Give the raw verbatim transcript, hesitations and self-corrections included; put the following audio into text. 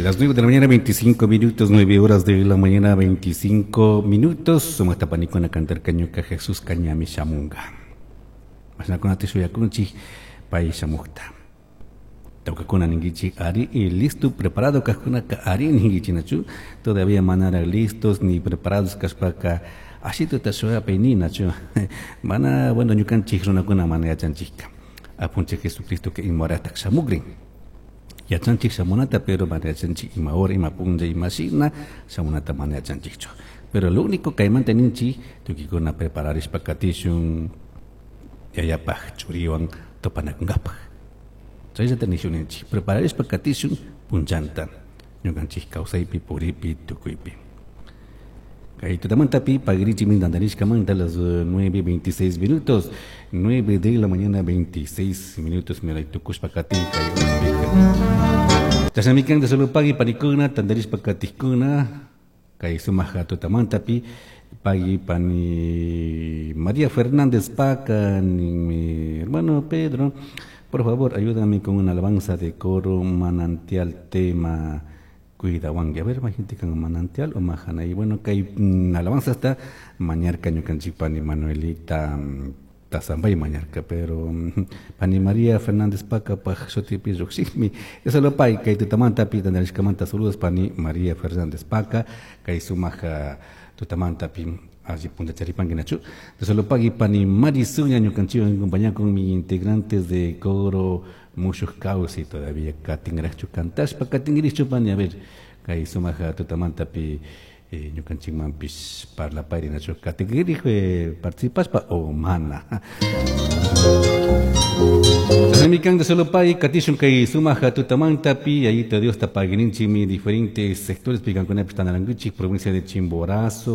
Las nueve de la mañana, veinticinco minutos, nueve horas de la mañana, veinticinco minutos. Sumaqta panikuna cantarka "Ñuka Jesuska ñami shamunga". Mashnakuna shuyakunchik pay shamukta? Tawkakuna ninkichik ari y listo, preparado kajkunaka ari ninkichik nachu? Todavía manara listos ni preparados kashpaka ashituta shuyapay ninachu? Mana, bueno, ñukanchik runakuna mana yachanchikka Apunchik Jesucristo que ima horatak shamukrin. Yachanchik shamunata, pero mana yachanchik ima hora, ima punlla, ima shina shamunata mana yachanchikchu. Pero lo único kaymanta ninchik, tukuykuna prepararishpa katishun Yayapaj Churiwan tupanakunkapaj. Chayllata nishun ninchik, prepararishpa katishun punllanta ñukanchik kawsaypi, puripi, tukuypi. Kay tutamantapi pagrichimi tantarishkamanta, las nueve veintiséis minutos, nueve de la mañana veintiséis minutos, miray tukushpa katin kay horaspika. Chashnami kan. Solo pagui panikuna, tantarishpa katikuna kay sumak tutamantapi. Pagui pani María Fernández Paca, mi hermano Pedro, por favor, ayúdame con una alabanza de coro Manantial, tema "Cuidahuangui". A ver, gente con Manantial o Majana. Y bueno, que hay mm, alabanza hasta mañarka ñukanchik pani Manuelita mm, Tazambay mañarka, pero mm, pani María Fernández Paca paj shutipi llukshikmi. Eso lo pay kay tutamanta pi tantarishkamanta. Saludos, pani María Fernández Paca, kay sumak tutamantapi alli punta charipanki nachu. Solo pagui pani Marisuña, ñukanchikwan acompaña con mi integrantes de coro Mushuj Kawsay, todavía katinraqchu kantashpa katinrichu pani? A ver, kay sumak tutamantapi eh, ñukanchikmanpish parlapayri nachu, katinrij eh, participashpa o mana? Chashnami de solo pay katishun kay sumak tutamantapi. Yayito Diosta paguininchikmi diferentes sectores pikankunapish tanarankuchik, provincia de Chimborazo.